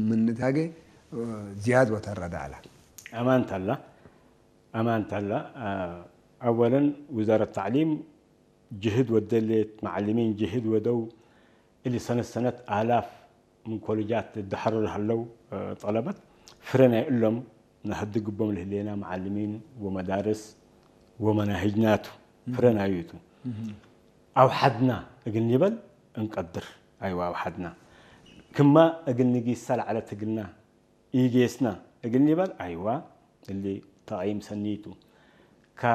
ምንታገ ዝያድ ወተረዳ ኣላ። ኣማንታላ ኣማንታላ ኣወለን ውዛረት ታዕሊም ጅህድ ወደሌት መዓልሚን ጅህድ ወደው እሊ ሰነት ሰነት ኣላፍ ምን ኮሌጃት ዝዳሓሩ ለሃለው ጠለበት ፍረ ናይ እሎም ነሀድግቦም ልህሌና መዓልሚን ወመዳርስ ወመናሂጅናቱ ፍረ ናዩቱ ኣውሓድና እግል ኒበል እንቀድር ኣይዋ ኣውሓድና ክማ እግል ንጊሳ ለዓለት እግልና ኢጌስና እግል ኒበል ኣይዋ እሊ ተቐይም ሰኒቱ ካ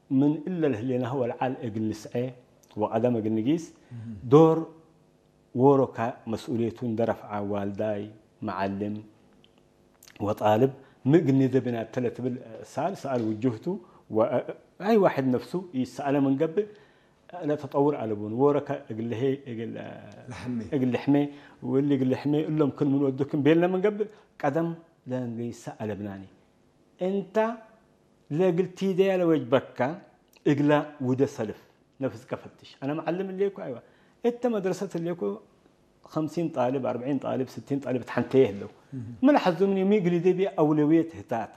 ምን እለ ልህሌናሁ ወልዓል እግል ንስዔ ወቀደም እግል ንጊስ ዶር ዎሮካ መስኡልየቱ እንደረፍዓ ዋልዳይ መዓልም ወጣልብ ሚ እግል ኒደብና ተለ ትብል ሰኣል ሰኣል ውጅህቱ ኣይ ዋሕድ ነፍሱ ይሰኣለ ምን ገብእ ለተጠውር ኣለቡን ወረከ እግልሄ እግል ለሐሜ እግል ልሕሜ ወሊ እግል ልሕሜ እሎም ክል ምን ወዱክም ቤልና ምን ገብእ ቀደም ለንገይሳ ኣለብናኒ እንታ ለእግል ቲደያ ለወጅበካ እግላ ውደ ሰልፍ ነፍስከ ፈትሽ ኣነ መዓልም እሌኩ ኣይዋ እተ መድረሰት እሌኩ خمسين ጣልብ أربعين ጣልብ ستين ጣልብ ተሓንተየ ህለው ምን ሐዙምኒ ሚ እግል ደቢ ኣውለውየት ህታታ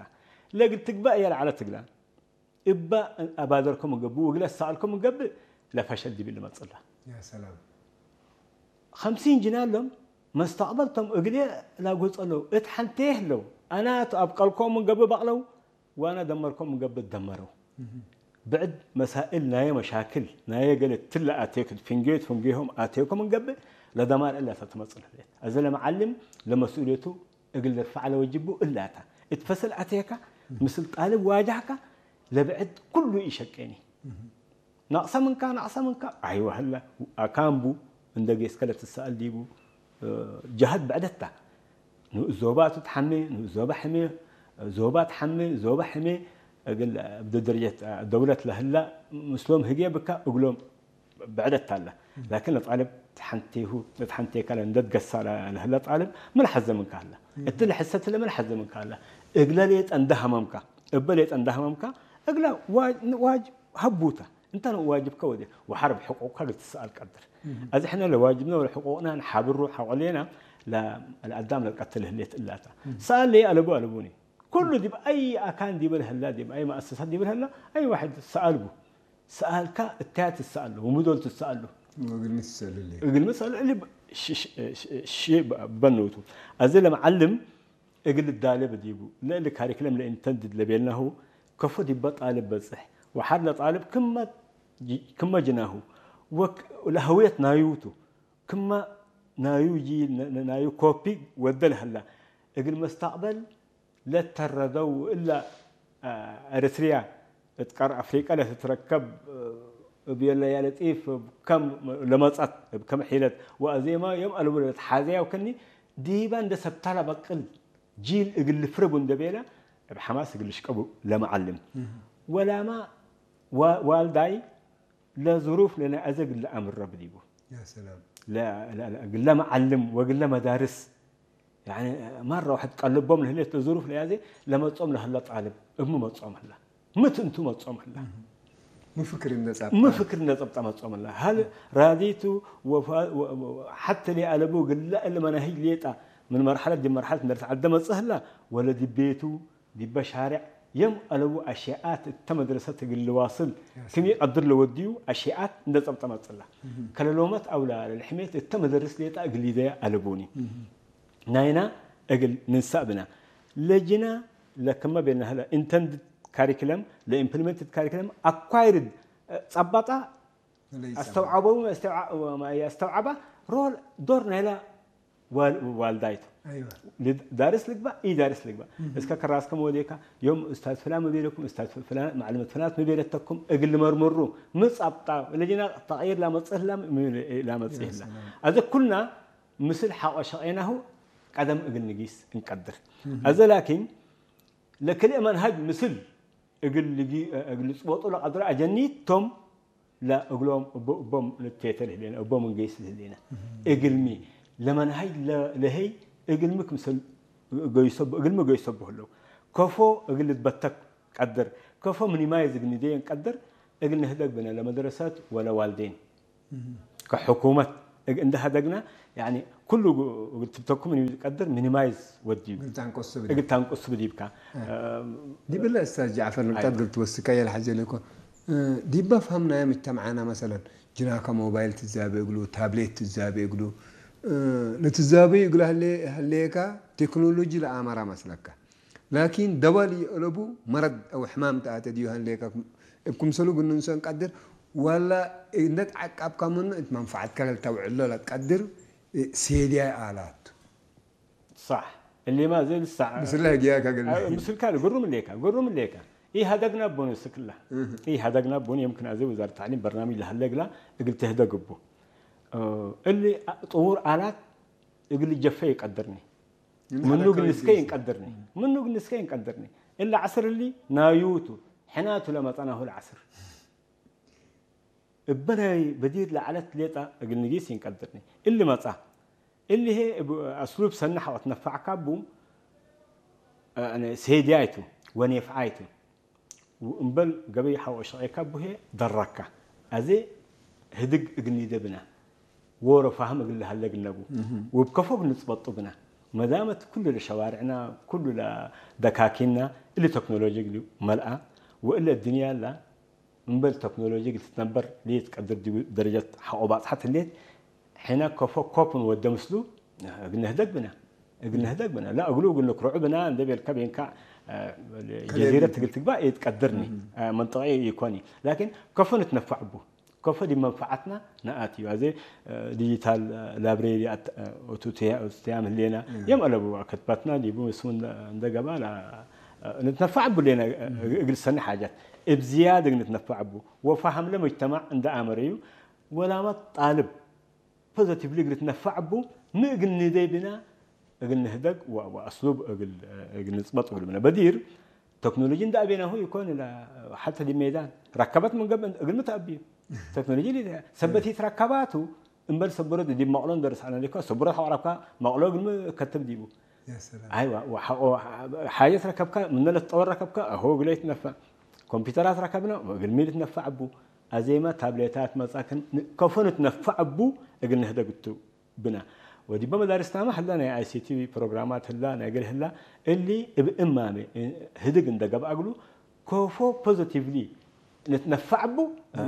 ለእግል ትግባእ እያ ለዓለት እግላ እባ ኣባደርኩም እገብእ ወግለ ሰኣልኩም እገብእ ለፈሸል ዲብል ልመጽላ يا سلام خمسين ጅናሎም መስተቕበልቶም እግሌ ላጎጸለው እት ሓንቴ ህለው ኣና ኣብቀልኮም እገብእ ባቕለው ዋና ደመርኮም እገብእ ደመረው ብዕድ መሳእል ናየ መሻክል ናየ ገለ ትለ ኣቴክ ፍንጌት ፍንጌሆም ኣቴኮም እገብእ ለደማር እላ ተትመጽል ህሌት እዚ ለመዓልም ለመስኡልየቱ እግል ደርፋዕ ለወጅቡ እላታ እት ፈሰል ኣቴካ ምስል ጣልብ ዋጃህካ ለብዕድ ኩሉ ይሸቄኒ ናቕሰ ምንካ ናቕሰ ምንካ ኣይወህላ ኣካምቡ እንደ ጌስከ ለትሰኣል ዲቡ ጃሃድ ብዕደታ ንኡስ ዞባ ትትሓሜ ንኡስ ዞባ ሕሜ ዞባ ትሓሜ ዞባ ሕሜ እግል ብደረጀት ደውለት ለህላ ምስሎም ህጌ ብካ እግሎም ብዕደት ኣላ ላኪን ለጣልብ ተሓንቴሁ ተሓንቴካ ለእንደት ገሳ ለህለ ጣልብ ምን ሐዘ ምንካ ኣላ እቲ ለሕሰት ለምን ሐዘ ምንካ ኣላ እግለ ሌጠ እንደ ሀመምካ እበ ሌጠ እንደ ሀመምካ እግለ ዋጅብ ሀቡታ እንተ ዋጅብከ ወደ ወሐር ብሕቁቅካ ግትሰኣል ቀድር ኣዚ ሕነ ለዋጅብና ወለሕቁቅና ንሓብሩ ሐቆሌና ለአዳም ለቀትል ህሌት እላታ ሰኣል ለየ ኣለቡ ኣለቡኒ ኩሉ ዲብ ኣይ ኣካን ዲበል ህላ ዲብ ኣይ መኣሰሳት ዲበል ህላ ኣይ ዋሕድ ሰኣልቡ ሰኣልካ እታያ ትሰኣሉ ወምዶል ትሰኣሉ ወግል ምትሰልል እግል ምሰል እሊ ሺ በንውቱ ኣዚ ለመዓልም እግል ዳለ በዲቡ ለእሊ ካሪክለም ለኢንተንድድ ለቤልናሁ ከፎ ዲበ ጣልብ በጽሕ ወሓድ ለጣልብ ክመ ጅናሁ ለህውየት ናዩቱ ክመ ናዩ ጂ ናዩ ኮፒ ወደ ለህላ እግል መስተቅበል ለተረደው እላ ኤርትርያ እት ቀር ኣፍሪቀ ለትትረከብ እብ የለያ ለጢፍ እብ ከም ለመጸት እብ ከም ሒለት ወአዜማ ዮም አልቡ ለትሓዘያ ወከኒ ዲባ እንደ ሰብታ ለበቅል ጂል እግል ልፍረቡ እንደ ቤላ እብ ሐማስ እግል ልሽቀቡ ለመዓልም ወላማ ዋልዳይ ለዝሩፍ ለናይ አዘ ግለ አምር ረብ ዲቡ يا سلام ግለ መዓልም ወግለ መዳርስ ማራ ዋሕድ ቀልቦም ለህሌት ለዝሩፍ ለያዘ ለመጾም ለህለ ጣልብ እብ መጾም ህላ ምት እንቱ መጾም ህላ ምፍክር እንደጻብ ምፍክር እንደጸብጠ መጾም ህላ ሀል ራዲቱ ሐተ ሊአለቡ ግለ እለ መናሂጅ ሌጣ ምን መርሐለት ዲብ መርሐለት እንደርስ ዓደ መጽእ ህላ ወለ ዲቤቱ ዲበ ሻርዕ የም አለቡ አሽያኣት እተ መድረሰት እግል ልዋስል ክም ይቀድር ለወድዩ አሽያኣት እንደ ጸብጠ መጽላ። ከለሎመት አውላ ለልሕሜት እተ መደርስ ሌጣ እግል ይደያ አለቡኒ። ናይና እግል ንንሳእ ብና። ለጅና ለክመ ቤልና ህለ intended curriculum ለኢምፕሊመንትድ ካሪክለም አኳይርድ ጸባጣ አስተውዓበው አስተውዓባ ሮል ዶር ናይላ ዋልዳይቱ ዳርስ ልግባእ ኢ ዳርስ ልግባእ እስከ ከራስከ መወዴካ ዮም እስታዝ ፍላን መቤለኩም እስታዝ ፍላን ማዕልመት ፍላናት መቤለተኩም እግል መርምሩ ምጻብጣ ለጅና ተቅይር ላመጽህላ ላመጽህላ አዘ ኩልና ምስል ሓቆ ሸቄናሁ ቀደም እግል ንጊስ እንቀድር አዘ ላኪን ለክልኤ መንሃጅ ምስል እግል እግል ጽበጡ ለቀድሮ አጀኒት ቶም ለእግሎም እቦም ንቴተ ልህሌነ እቦም እንገይስ ልህሌነ እግልሚ ለመንሃጅ ለሄይ እግልሚ ክምሰል ገይሰቡ እግልሚ ገይሰቡ ህለው ከፎ እግል ልትበተክ ቀድር ከፎ ምኒማይዝ እግል ንደየን ቀድር እግል ንህደግ ብነ ለመድረሰት ወለ ዋልዴን ከሕኩመት እግ-፣ እንደ ሀደግና፣ ያኒ፣ ኩሉ ግ-፣ እግል ትብተኩም ምን ይቀድር ሚኒማይዝ ወድዩ። እግል ታንቆስ ትብል። እግል ታንቆስ ትብል ይብካ። እ። እም፣ ዲብለ እስታዝ ጃዕፈር ንቅጣት እግል ትወስካ የልሓጀ ለኮ። እ፣ ዲባ ፋም ናይ ምጅተማዓና መሰለን፣ ጅናካ ሞባይል ትዛበ እግሉ፣ ታብሌት ትዛበ እግሉ፣ እ፣ ንትዛበ እግሉ ሀለ-፣ ሀለየካ ቴክኖሎጂ ለአማራ መስለካ። ላኪን ደዋል ይእለቡ መረድ አው ሕማም ተአተ ዲዩ ሀለየካ እብ ክምሰሉ ግንንሶ እንቀድር፣ ዋላ እንደ ተዓቃብካ ምኑ እት መንፈዓትካ ለልተውዕሎ ለትቀድር፣ እ፣ ሴድያይ አላቱ። ሳሕ። እሊማ ዘይ ልሳዕ ምስላ ህግያካ ገለ። አ፣ ምስልካ ግሩም እሌካ፣ ግሩም እሌካ። ኢሃደግና ቦ ንስክላ። እህ። ኢሃደግና ቦ የምክን አዘ ወዛረት ታዕሊም በርናምጅ ለሀለግላ እግል ትህደግ እቡ። እ፣ እሊ አ-፣ ጥውር አላት እግል ጀፈ ይቀድርኒ። ምን ምኑ ሀደግ እግል ንስከ ይንቀድርኒ። ምኑ እግል ንስከ ይንቀድርኒ። እሊ ዐስር እሊ ናዩቱ፣ ሕናቱ ለመጸናሁ ለዐስር። እበ ናይ በዲር ለዐለት ሌጣ እግል ንጊስ ይንቀድርኒ። እሊ መጻ። እሊ ሄ እብ አስሉብ ሰኒ ሐቆ ትነፋዕካ እቡ፣ እ፣ ሴድያይቱ ወኔፍዓይቱ። እምበል ገበይ ሐቆ ሸቄካ እቡ ሄ ደረካ። አዜ ህድግ እግል ኒደ ብና። ዎሮ ፋህም እግል ለሀለ እግል ነቡ። እህ። ወብ ከፎ እግል ንጽበጡ ብና። መዳመት ኩሉ ለሸዋርዕና፣ ኩሉ ለደካኪና፣ እሊ ተክኖሎጂ እግል መልአ። ወእለ እድንያ ላ እምበል ተክኖሎጂ እግል ትትነበር ሌት ቀድር ዲቡ ደረጀት ሐቆ ባጽሐት ህሌት፣ ሕነ ከፎ ኮፕን ወደ ምስሉ እግል ነህደግ ብና፣ እግል ነህደግ ብና። ላ እግሉ እግል ንክርዑ ብና እንደ ቤልካ ቤንካ፣ አ፣ ከለ ጀዚረት የብሉ። እግል ትግባእ ኢትቀድርኒ፣ እም። አ፣ መንጠቂ ይኮኒ። ላኪን ከፎ ንትነፋዕ እቡ። ከፎ ዲብ መንፈዓትና ነኣት እዩ። አዜ፣ አ፣ ዲጂታል፣ አ፣ ላይብሬሪ አት-፣ አ፣ ኦቱ ትያ-፣ ኦቱ ትያም ህሌና፣ እም። የም አለቡ ከትባትና ዲቡ ምስሙን እንደ ገባ ላ፣ አ፣ ንትነፋዕ እቡ ሌና፣ አ፣ እም። እግል ሰኒ ሓጃት። እብ ዝያድ እግል ንትነፋዕ እቡ። ወፋህም ለመጅተማዕ እንደ አመረዩ ወላመት ጣልብ ፖዘቲቭሊ እግል ትነፋዕ እቡ፣ ሚ እግል ንደይ ብና፣ እግል ንህደግ ወ-፣ ወአስሉብ እግል፣ እግል ንጽበጥ እግል ብና። በዲር ተክኖሎጂ እንደ አቤናሁ ይኮን ላ፣ ሐተ ዲ ሜዳን ረከበት ምን ገብእ እግል ምተአብዩ። ተክኖሎጂ ሊ-፣ ሰበት ይትረከባቱ፣ እምበል ሰቡረት ዲብ መቅሎ እንደርስ አነ ሊኮ፣ ሰቡረት ሐቆ ረከብካ መቅሎ እግል ሚ ከተብ ዲቡ። ያ ሰላም። አይዋ፣ ወሐቆ፣ ሓጀት ረከብካ፣ ምነ ለትጠወር ረከብካ፣ አሆ እግል ይትነፋዕ። ኮምፒውተራት ረከብና፣ እግል ሚ ልትነፋዕ እቡ። አዜመ ታብሌታት መጻክን ን-፣ ከፎ ንትነፋዕ እቡ እግል ንህደግ እቱ ብና። ወዲበ መዳርስ ታማ ህላ ናይ አይ ሲ ቲ ፕሮግራማት ህላ፣ ናይ እግል ህላ፣ እሊ እብ እማመ፣ እ፣ ህድግ እንደ ገብአ እግሉ፣ ከፎ ፖዘቲቭሊ ንትነፋዕ እቡ።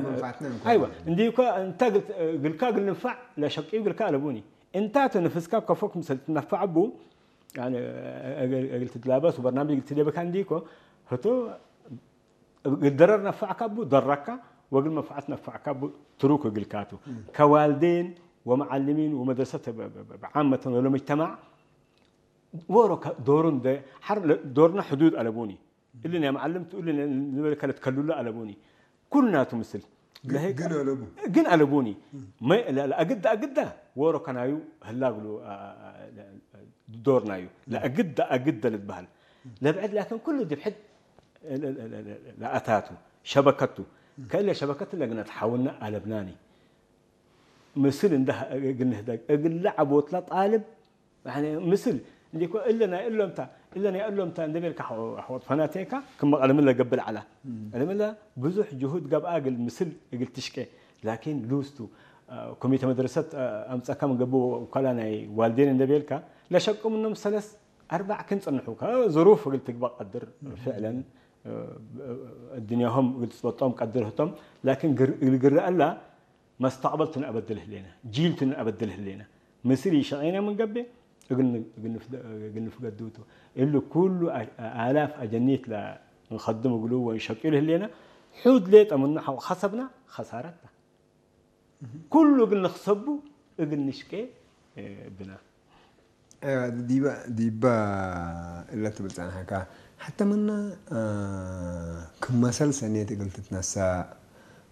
መንፋዕትና እንኳ አይዋ፣ እንዲ እኳ እንታ እግል-፣ እግልካ እግል ንፋዕ ለሸቂዩ እግልካ አለቡኒ። እንታ ተነፍስካ ከፎ ክምሰል ትነፋዕ እቡ፣ ያኒ፣ እግል፣ እግል ትትላበስ ወበርናምጅ እግል ትደበካ እንዲ እኮ፣ ህቶ እግል ደረር ነፋዕካ እቡ ደረካ፣ ወእግል መንፈዓት ነፋዕካ እቡ ትሩክ እግልካቱ። እም። ከዋልዴን ወመዓልሚን ወመድረሰት ብ-፣ ብ-፣ ብ-፣ ብዓመተን ወለመጅተማዕ ወሮ ከ-፣ ዶሩ እንደ ሐር ለ-፣ ዶርና ሕዱድ አለቡኒ። እሊ ናይ መዓልምቱ፣ እሊ ናይ ንበል ከለት ከሉሉ አለቡኒ። ኩልናቱ ምስል። ግን፣ ለሄ-፣ ግን አለቡ። ግን አለቡኒ። እም። መ-፣ ለ-፣ ለአግዳ አግዳ ወሮ ከናዩ ህላ እግሉ፣ አ-፣ አ-፣ አ-፣ ለ-፣ ዶርናዩ። እም። ለአግዳ አግዳ ልትበሃል። ለብዕድ ላኪን ኩሉ ዲብ ሕድ ለ-፣ ለ-፣ ለ-፣ ለ-፣ ለአታቱ። ሸበከቱ። እም። ከእለ ሸበከት ለግና ተሓውና አለብናኒ። ምስል እንደ እግል ንህደግ፣ እግል ለዓቦት ለጣልብ፣ ያኒ ምስል እንዲኮ እለ ናይ እሎምታ፣ እለ ናይ እሎምታ እንደ ቤልካ ሐ-፣ ሐወጥ ፈናቴካ ክመ ቀለምን ለገብእ ለዓላ። እም። ቀለምን ለ ብዙሕ ጅሁድ ገብአ እግል ምስል እግል ትሽቄ፣ ላኪን ሉስቱ፣ አ፣ ኮሚቴ መድረሰት፣ አ፣ አምጸካ ምን ገብእ ወካላ ናይ ዋልዴን እንደ ቤልካ፣ ለሸቁ ምኖም ሰለስ አርባዕ ክን ጽንሑ፣ ከ-፣ ዙሩፍ እግል ትግባእ ቀድር እም። ፍዕለን፣ አ፣ እድንያሆም እግል ትጽበጦም ቀድር ህቶም፣ ላኪን ግር-፣ እግል ግርአላ፣ መስተቅበልቱ ነአበድል ህሌና፣ ጂልቱ ነአበድል ህሌና። ምስል ይሸቄና ምን ገብእ፣ እግል ን-፣ እግል ንፍደ-፣ እግል ንፍገድውቱ። እሉ ኩሉ አ-፣ አላፍ አጀኒት ለንኸድም እግሉ ወንሸቂሉ ህሌና፣ ሑድ ሌጠ ምኑ ሐቆ ኸሰብና፣ ኸሳረታ። ኩሉ እግል ንኽሰቡ፣ እግል ንሽቄ፣ እ፣ ብና። አይዋ፣ ዲባ፣ ዲባ እለ ትብል ጸንሐካ። ሐተ ምና፣ አ፣ ክም መሰል ሰኔት እግል ትትነሳ፣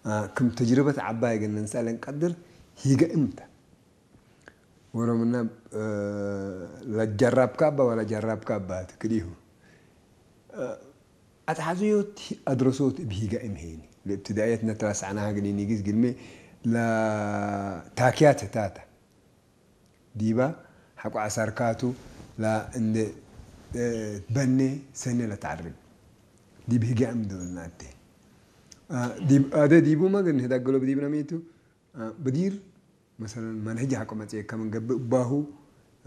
አ፣ ክም ተጅርበት ዐባይ እግል ንንሰአል እንቀድር ሂገእም ተ። ወሮ ምና፣ አ፣ ለጀራብካ እባ ወላ ጀራብካ እባ ትክዲሁ። አ፣ አትሐዝዮት አድረሶት እብ ሂገእም ሄኒ። ለእብትዳእየት ነትራሳዕናሃ እግል ኢኒጊዝ ግልሜ ለታክያት ህታታ። ዲባ ሐቆ ዐሳርካቱ ለእንደ፣ እ፣ ትበኔ ሰኔ ለተዐርብ። ዲብ ህግያም ዶልናቴ። አ፣ ዲብ፣ አደ ዲቡመ ግን ህዳገሎ ብዲብና ሜቱ፣ አ፣ በዲር مثلا من هجي حق متي كمن قبل باهو